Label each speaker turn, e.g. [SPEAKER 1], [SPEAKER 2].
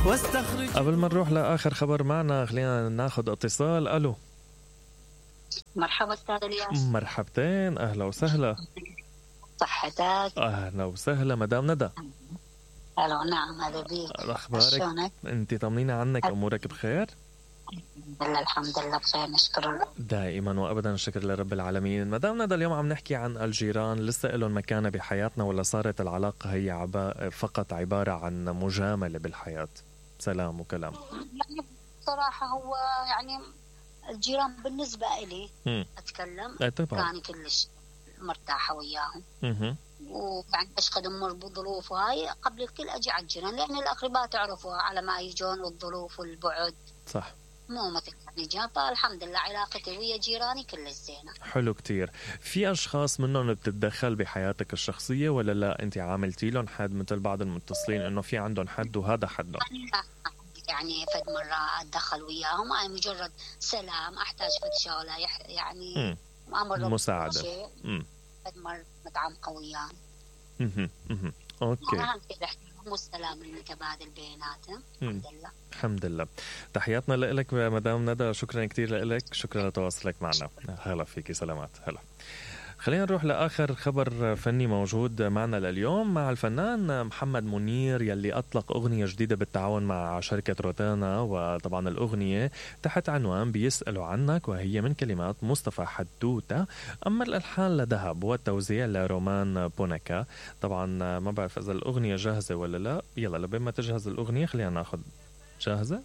[SPEAKER 1] قبل ما نروح لآخر خبر معنا خلينا ناخد اتصال. ألو
[SPEAKER 2] مرحبا أستاذ الياس.
[SPEAKER 1] مرحبتين، أهلا وسهلا.
[SPEAKER 2] صحتك؟
[SPEAKER 1] أهلا وسهلا مدام ندى.
[SPEAKER 2] ألو نعم هلا بيك.
[SPEAKER 1] أخبارك؟ أنت طمنينا عنك، أمورك بخير؟
[SPEAKER 2] الحمد لله بخير نشكر الله
[SPEAKER 1] دائما وأبدا الشكر لرب العالمين. مدام ندى اليوم عم نحكي عن الجيران، لسه لهم مكانة بحياتنا ولا صارت العلاقة هي فقط عبارة عن مجاملة بالحياة، سلام وكلام؟
[SPEAKER 2] يعني بصراحة هو يعني الجيران بالنسبة إلي أتكلم كان كلش مرتاحة وياهم ويعني أشقد أمر بظروف هاي قبل الكل أجي على الجيران، لأن الأقرباء تعرفوا على ما يجون والظروف والبعد
[SPEAKER 1] صح
[SPEAKER 2] مو مثل يعني جابا. الحمد لله علاقتي ويا جيراني كلش زينة.
[SPEAKER 1] حلو كتير. في أشخاص منهم بتتدخل بحياتك الشخصية ولا لا أنت عاملتي لهم حد مثل بعض المتصلين إنه في عندهم حد وهذا حدهم؟
[SPEAKER 2] يعني فد مرة أتدخل وياهم، أي مجرد سلام، أحتاج فد شغلة يعني أمر
[SPEAKER 1] مساعدة.
[SPEAKER 2] فد مرة متعمقة وياهم.
[SPEAKER 1] أوكي.
[SPEAKER 2] أهم شيء الاحترام والسلام المتبادل بيناتهم. الحمد لله.
[SPEAKER 1] الحمد لله. تحياتنا لك مدام ندى، شكرا كتير لك، شكرا لتواصلك معنا. هلا فيكي، سلامات. هلا. خلينا نروح لآخر خبر فني موجود معنا لليوم مع الفنان محمد منير يلي أطلق أغنية جديدة بالتعاون مع شركة روتانا، وطبعا الأغنية تحت عنوان بيسألوا عنك، وهي من كلمات مصطفى حدوتة، أما الألحان لذهب والتوزيع لرومان بونكا. طبعا ما بعرف إذا الأغنية جاهزة ولا لا، يلا لبين ما تجهز الأغنية خلينا ناخد جاهزة.